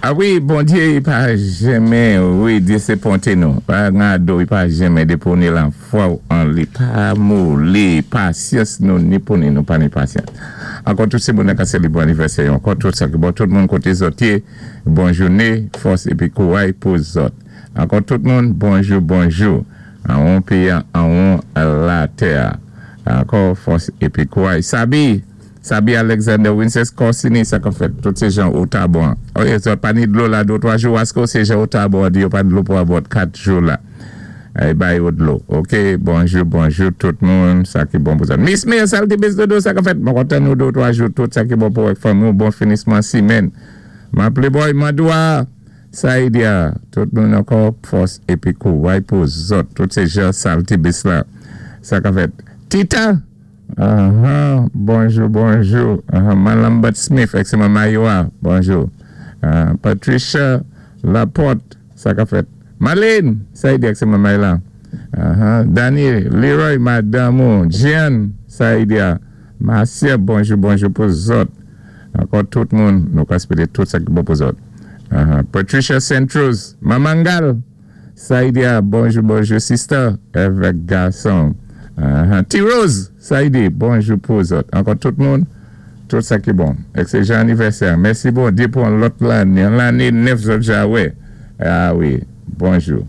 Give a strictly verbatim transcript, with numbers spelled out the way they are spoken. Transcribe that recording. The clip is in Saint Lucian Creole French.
A wi, Bondyé, i pa jenmen, wi, désépwente nou. Pa gado, i pa jenmen dépi ou ni lafwa an li. Pa moli, pasyans nou ni pou ni nou pa ni pasyans. Ankò tout sé moun ka sélébwé anivèsè, ankò tout sa ki bon, tout moun koté zòt yé, bon jouné, fòs épi kouray pou zòt. Ankò tout moun, bonjou, bonjou. An péyi, an latè. Ankò fòs épi kouray. Sabi, Sabi Alexander Winces Corsini, sa ka fèt, tout sé jan Otabon. Oye, zòt pa ni dlo la, dé twa jou, asko sé jan Otabon, di yo pa dlo pou about kat jou la. Eh, bay yo dlo. Ok, bonjou, bonjou tout moun, sa ki bon pou sa. Miss Mir, Salty Bis Dodo, sa ka fèt. Mwen kontan nou dé twa jou, tout sa ki bon pou ek fanmi, bon finisman simenn. Ma playboy, Madoua, Saïdia, tout moun ankò fòs épi kouray pou zòt, tout sé jan Salty Bis la. Sa ka fèt. Tita, uh-huh, bonjou, bonjou. Uh-huh, Malambert Smith, ek sé Mayoa, bonjou. Uh, Patricia Laporte, sa ka fèt. Marlene, Saïdia, ek sé Mayla. Uh-huh. Danny, Leroy, Madame, Jean, Saïdia. Marcia, bonjou, bonjou pou zòt. Ankò tout moun, nou ka éspéwé tout sa ki bon pou zòt. Uh-huh. Patricia Centros, Mamangal, Saïdia, bonjou, bonjou, sister, avèk gason. Uh-huh. T-Rose, Saïdi, bonjou pou zòt. Ankò tout moun, tout sa ki bon. Ek sé jan anivèsè. Mèsi Bondyé pou an lòt lanné, an lanné nèf zòt ja wè. A wi, bonjou.